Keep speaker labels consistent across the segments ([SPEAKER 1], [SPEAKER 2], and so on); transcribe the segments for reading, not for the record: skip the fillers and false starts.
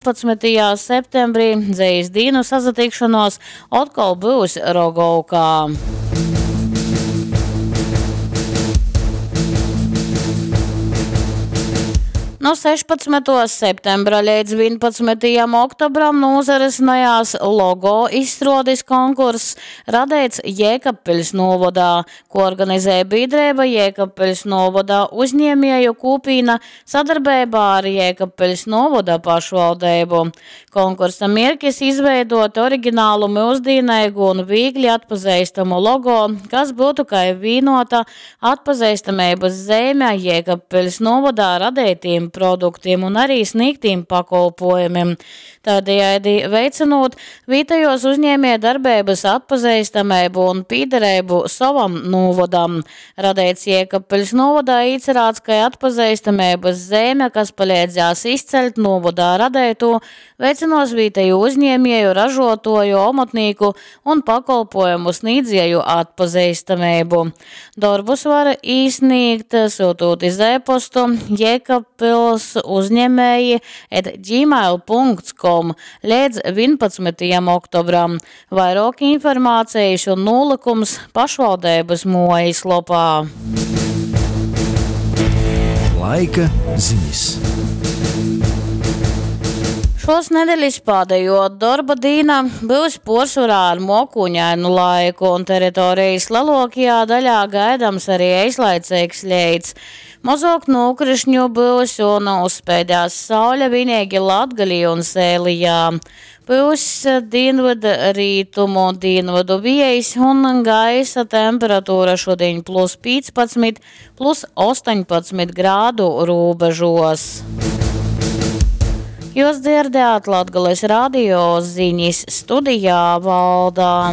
[SPEAKER 1] 11. septembrī Dzejas dīnu sasatikšanuos otkol byus Rogovkā. Nu 16. septembra leidz 11. oktobram nūsarisinājās logo izstruodis konkurss Radeits Jēkabpiļs nūvodā, ko organizēja bīdreiba Jēkabpiļs nūvoda uzņēmēju kūpīna sadarbeibā ar Jēkabpiļs nūvoda pašvaldeibu. Konkursa mierkis izveidot originālu, myusdīneigu un vīgli atpazeistamu logo, kas būtu kai vīnota atpazeistameibys zeime Jēkabpiļs nūvodā radeitīm produktiem un arī sniegtīm pakolpojumiem. Tādējādi veicinot vietējos uzņēmējdarbeibys atpazeistameibu un pīdereibu sovam nūvodam. Radeits Jēkabpiļs nūvodā īcerāts, ka atpazeistameibys zeime, kas paleidzēs izceļt nūvodā radeitū, veicynuos vietēju uzņēmēju, ražotuoju, omotnīku un pakolpojumu sniedzēju atpazeistameibu. Dorbus var īsniegt, syutūt iz e-postu jēkabpils uzņēmēji at gmail.com līdz 11. oktobram. Vairāk informācijas un nūlikums pašvaldības mojas lopā.
[SPEAKER 2] Laika ziņas.
[SPEAKER 1] Šos nedeļas pēdējo darba dīna būs porsvarā ar mokūņainu laiku, un teritorijas lielākajā daļā gaidams arī eislaicīgs leits. Mazāk nokrišņu būs un uzspēdās saule vienīgi Latgalī un Sēlijā. Būs dienvidu rītumu, dienvidu viejs un gaisa temperatūra šodien plus 15, plus 18 grādu robežos. Jūs dzirdējāt Latgales radio ziņas studijā Valdā.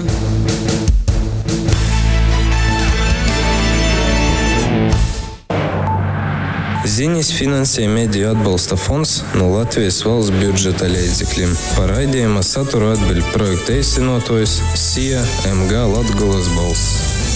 [SPEAKER 3] Ziņas finansē Mediju atbalsta fonds no Latvijas valsts budžeta līdzekļiem. Par raidījuma saturu atbild projekta īstenotājs SIA MG Latgulas balss.